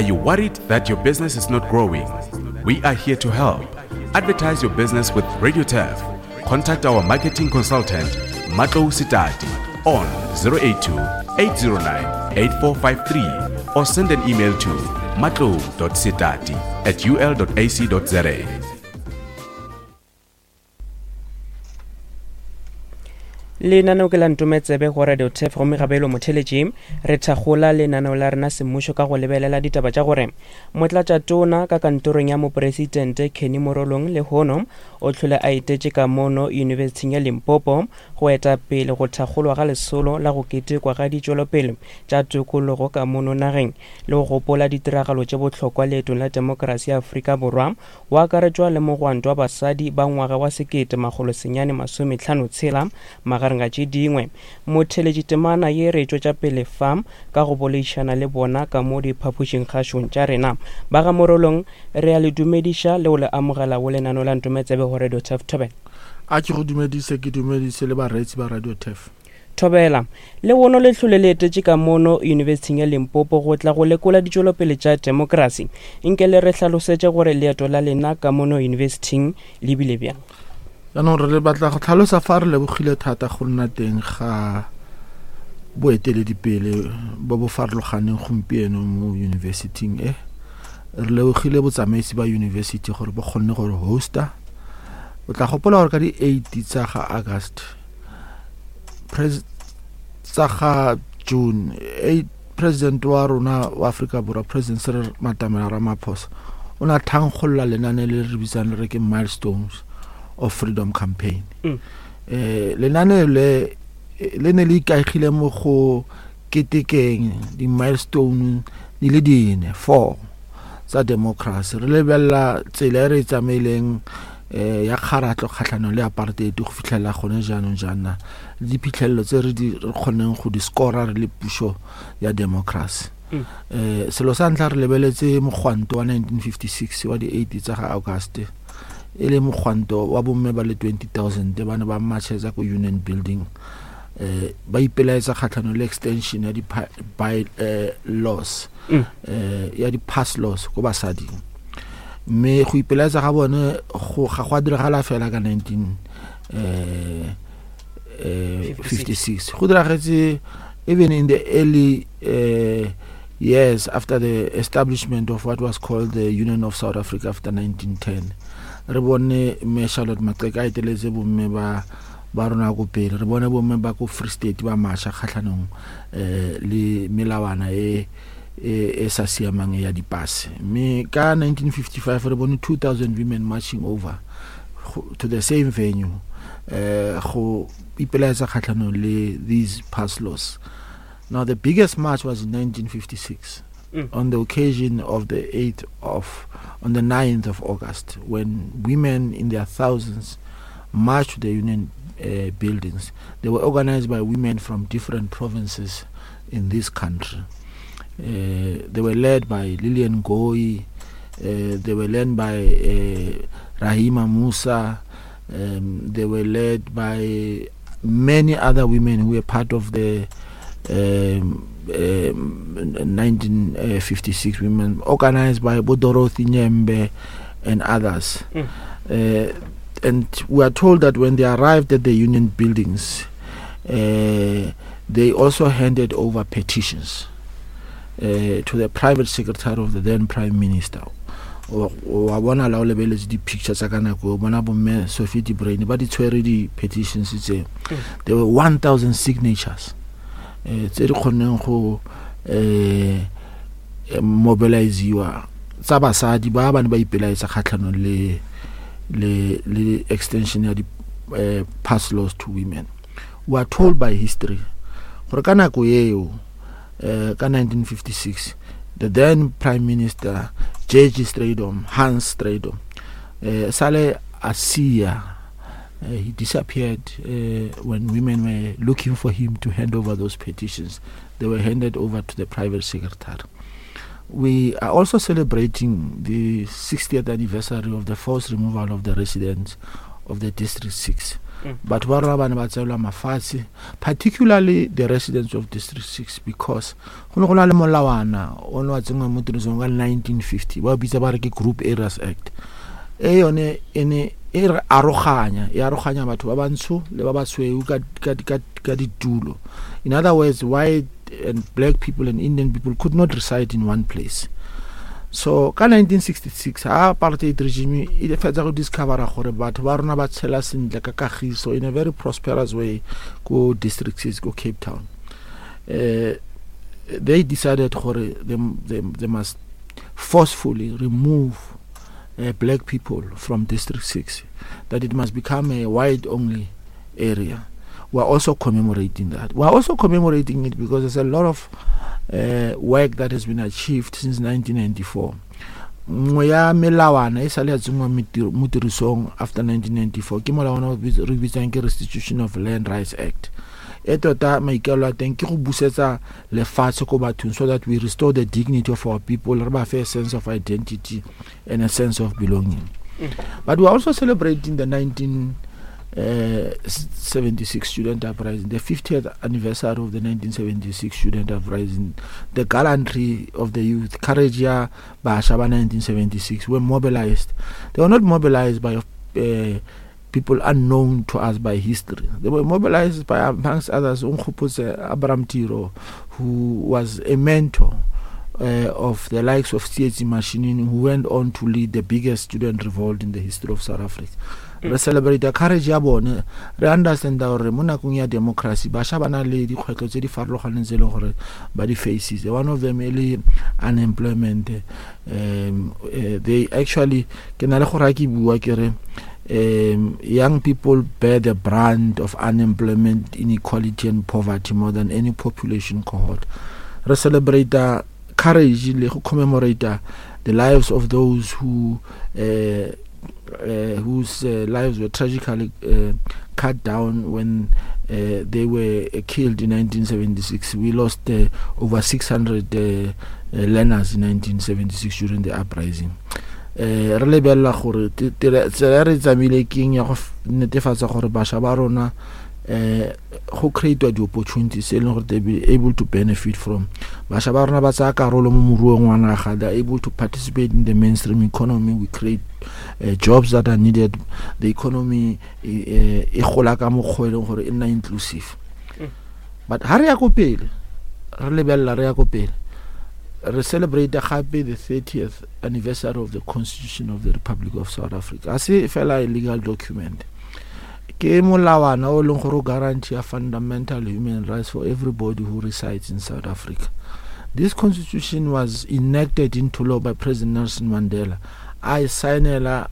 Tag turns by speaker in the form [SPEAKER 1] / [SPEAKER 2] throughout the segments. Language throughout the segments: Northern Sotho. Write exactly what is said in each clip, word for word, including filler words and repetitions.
[SPEAKER 1] Are you worried that your business is not growing? We are here to help. Advertise your business with Radio Turf. Contact our marketing consultant, Matlo Sitati, on zero eight two, eight zero nine, eight four five three or send an email to matlo dot sitati at u l dot a c dot z a.
[SPEAKER 2] Lenaneo ke la Ntometsebe go Radio Turf gomme gabelo motheletši re thakgola lenaneo la rena semmušo ka go lebelela ditaba tša gore motlatšatona ka kantorong ya mopresidente Kenny Morolong lehono o hlole a etetše ka mono Yunibesithing ya Limpopo go eta pele go thakgolwa ga lesolo la go ketekwa ga ditšwelopele tša tokologo ka mono nageng le go gopola ditiragalo tše bohlokwa leetong la demokrasi ya Afrika Borwa go akaretšwa le mogwanto wa basadi ba ngwaga wa sekete makgolo senyane masomehlano tshela magareng ga tše dingwe. Motheletši temana ye re tšwetša pele fa ka go boledišana le bona ka mo diphapošing kgašong tša rena. Ba ga Morolong re a le dumediša le go le amogela go lenaneo la Ntometsebe go Radio Turf. Thobela.
[SPEAKER 3] A ke go dumedise, ke dumedise le bareetsi ba Radio Turf.
[SPEAKER 2] Thobela. Le wono le hlole le etetše ka mono Yunibesithing ya Limpopo go tla go lekola ditšwelopele tša demokrasi. Nke le re hlalosetše gore leeto la lena ka mono yunibesithing le bile bjang?
[SPEAKER 3] Jaanong re batla go tlhalosa fa re lebogile thata go nna teng ga boeteledipele bo bo farologaneng gompieno mo yunibesithing e. Re lebogile botsamaisi ba yunibesithi gore bo kgonne gore hosta. O tla gopola gore ka di-eight tsa ga August, pres-, tsa ga June, eight, president wa rona wa Afrika Borwa, President Cyril Matamela Ramaphosa, o ne a thankgolola lenane le re bitsang re ke Milestones of Freedom Campaign.
[SPEAKER 2] Mm.
[SPEAKER 3] Eh, lenane le, le ne le ikaegile mo go ketekeng di-milestone di le dine, four, tsa democracy. Re lebelela tsela e re e tsamaileng, eh, ya kgaratlho kgatlhanong le apartheid go fitlhela gone jaanong jaana, le diphitlhelelo tse re di, re kgonneng go di scora re le puso ya democracy.
[SPEAKER 2] Mm.
[SPEAKER 3] Eh, selo sa ntlha re lebeletse mogwanto wa nineteen fifty-six wa di-eight tsa ga August, e le mogwanto wa bomme ba le twenty thousand ba ne ba marchetsa ko Union Building, eh, ba ipelaetsa kgatlhanong le extension ya di-pa-, by, eh, laws,
[SPEAKER 2] Mm.
[SPEAKER 3] eh, ya di-pass laws ko basading. Mme go ipelaetsa ga bone go, ga go a diragala fela ka nineteen, eh, eh, fifty-six. Go diragetse even in the early, eh, years after the establishment of what was called the Union of South Africa after nineteen ten. Re bone mme Charlotte Maxeke a eteletse bomme ba, ba rona ko pele. Re bone bomme ba ko Free State ba marcha kgatlhanong, eh, le melawana e, e, e sa siamang ya dipase. Mme ka nineteen fifty-five re bone two thousand women marching over go, to the same venue, eh, go ipelaetsa kgatlhanong le these pass laws. Now the biggest march was in nineteen fifty-six.
[SPEAKER 2] Mm.
[SPEAKER 3] On the occasion of the eighth of, on the ninth of August, when women in their thousands marched to the union, uh, buildings. They were organized by women from different provinces in this country. Uh, they were led by Lillian Ngoyi, uh, they were led by, uh, Rahima Moosa, um, they were led by many other women who were part of the, um, um, nineteen fifty-six women, organized by Dorothy Nyembe and others.
[SPEAKER 2] Mm.
[SPEAKER 3] Uh, and we are told that when they arrived at the union buildings, uh, they also handed over petitions, uh, to the private secretary of the then Prime Minister. Wa, wa bona la o lebeletse di-picture tsa ka nako eo, bona bomme Sophie de Bruyn ba di tshwere di-petitions tse.
[SPEAKER 2] Mm.
[SPEAKER 3] There were one thousand signatures, eh, tse di kgonneng go, eh, mobiliziwa tsa basadi ba ba ne ba ipelaetsa kgatlhanong le, le, le extension ya di, eh, pass laws to women. We are told by history gore ka nako eo, eh, ka nineteen fifty-six, the then Prime Minister J G Strijdom, Hans Strijdom, eh, sale a sia, eh, he disappeared, eh, when women were looking for him to hand over those petitions. They were handed over to the private secretary. We are also celebrating the sixtieth anniversary of the forced removal of the residents of the District six. Batho ba rona ba ne ba tseelwa mafatshe, particularly the residents of District six, because go ne go na le molawana o ne wa tsenngwa mo tirisong ka nineteen fifty, ba bitsa ba re ke Group Areas Act. E yone e ne e re aroganya, e aroganya batho ba bantsho le ba basweu ka, ka, ka, ka ditulo. In other words, white and black people and Indian people could not reside in one place. So ka nineteen sixty-six ha apartheid regime e fetsa go discovera gore batho ba rona ba tshela sentle ka kagiso in a very prosperous way ko District six ko Cape Town. Uh, they decided gore they, they, they must forcefully remove, uh, black people from District six, that it must become a white only area. We are also commemorating that. We are also commemorating it because there's a lot of, uh, work that has been achieved since nineteen ninety-four. Nngwe ya melawana e sale ya tsenngwa mo tirisong after nineteen ninety-four ke molawana o re bitsang ke Restitution of Land Rights Act. E tota maikaelelo a teng ke go busetsa lefatshe ko bathong so that we restore the dignity of our people, re ba fe a sense of identity and a sense of belonging.
[SPEAKER 2] Mm.
[SPEAKER 3] But we are also celebrating the nineteen seventy-six student uprising, the fiftieth anniversary of the nineteen seventy-six student uprising, the gallantry of the youth, courage ya bašwa ba nineteen seventy-six were mobilized. They were not mobilized by, uh, people unknown to us by history. They were mobilized by, amongst others, Nkgopotse Abraham Tiro, who was a mentor, uh, of the likes of Tsietsi Mashinini, who went on to lead the biggest student revolt in the history of South Africa. Re celebrate courage ya bone, re understand gore mo nakong ya democracy bašwa ba na le dikgwetlho tse di farologaneng tse e leng gore ba di faces. One of them e le unemployment. Um, uh, they actually, ke na le gore ha ke bua ke re, um, young people bear the brunt of unemployment, inequality and poverty more than any population cohort. Re celebrate courage le go commemorate the lives of those who, uh, uh, whose, uh, lives were tragically, uh, cut down when, uh, they were, uh, killed in nineteen seventy-six. We lost, uh, over six hundred, uh, uh, learners in nineteen seventy-six during the uprising. Uh, re lebelela gore te-, te-, tsela e re tsamaile keng ya go f-, netefatsa gore bašwa ba rona, eh, go create di-opportunities e leng gore they be able to benefit from. Bašwa ba rona ba tsaya karolo mo moruong wa naga, they are able to participate in the mainstream economy. We create, uh, jobs that are needed. The economy e, e gola ka mokgwa e leng gore e nna inclusive.
[SPEAKER 2] Mm.
[SPEAKER 3] But ha re ya ko pele, re lebelela re ya ko pele, re celebrate gape the thirtieth anniversary of the Constitution of the Republic of South Africa. Ha se fela a legal document, ke molawana o leng gore o guarantee a fundamental human rights for everybody who resides in South Africa. This constitution was enacted into law by President Nelson Mandela. A e saenela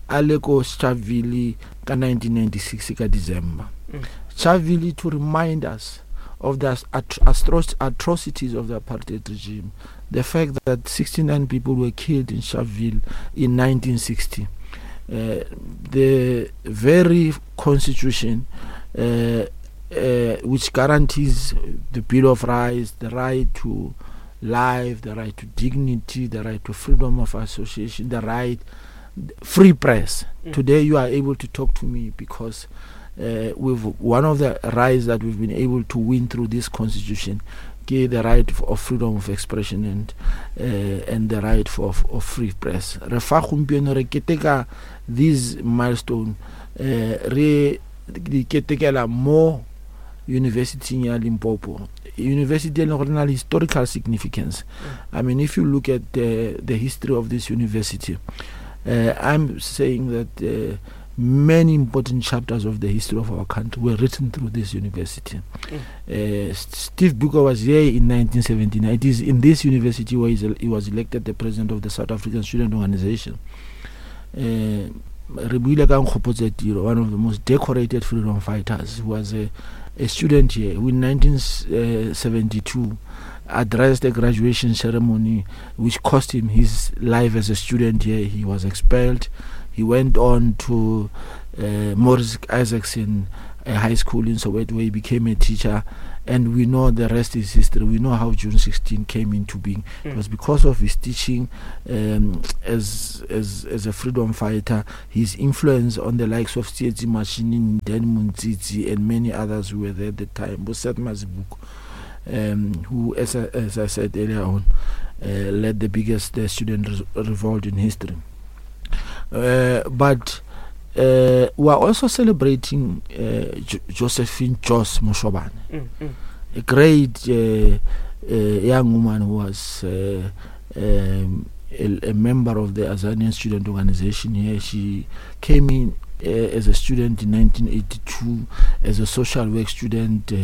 [SPEAKER 3] a le ko Sharpeville ka nineteen ninety-six ka December.
[SPEAKER 2] Mm.
[SPEAKER 3] Sharpeville to remind us of the atro-, atro-, atrocities of the apartheid regime. The fact that sixty-nine people were killed in Sharpeville in nineteen sixty. Uh, the very constitution, uh, uh, which guarantees the Bill of Rights, the right to life, the right to dignity, the right to freedom of association, the right free press.
[SPEAKER 2] Mm.
[SPEAKER 3] Today you are able to talk to me because, uh, we've one of the rights that we've been able to win through this constitution, ke the right f-, of freedom of expression and, uh, and the right for, of, of free press. Re fa gompieno re keteka this milestone, uh, re di ketekela mo University ya Limpopo, university e leng gore e na le historical significance.
[SPEAKER 2] Mm.
[SPEAKER 3] I mean, if you look at the, the history of this university, uh, I'm saying that, uh, many important chapters of the history of our country were written through this university.
[SPEAKER 2] Mm.
[SPEAKER 3] Uh, Steve Biko was here in nineteen seventy-nine. It is in this university where he was elected the president of the South African Student Organization. Uh, re buile ka Nkgopotse Tiro, one of the most decorated freedom fighters, who was a, a student here, who in nineteen seventy-two addressed the graduation ceremony, which cost him his life as a student here. He was expelled. He went on to, uh, Morris Isaacson, uh, High School in Soweto, where he became a teacher, And we know the rest is history. We know how June sixteen came into being.
[SPEAKER 2] Mm.
[SPEAKER 3] It was because of his teaching um, as, as, as a freedom fighter, his influence on the likes of Tsietsi Mashinini, Dan Montsitsi, and many others who were there at the time, Boseth Mazibuko, um, who, as I, as I said earlier on, uh, led the biggest uh, student re- revolt in history. Uh, but uh, we are also celebrating uh, jo- Josephine Jos Moshobane,
[SPEAKER 2] Mm, mm.
[SPEAKER 3] a great uh, uh, young woman who was uh, um, a, a member of the Azanian Student Organization here. She came in uh, as a student in nineteen eighty-two as a social work student. Uh,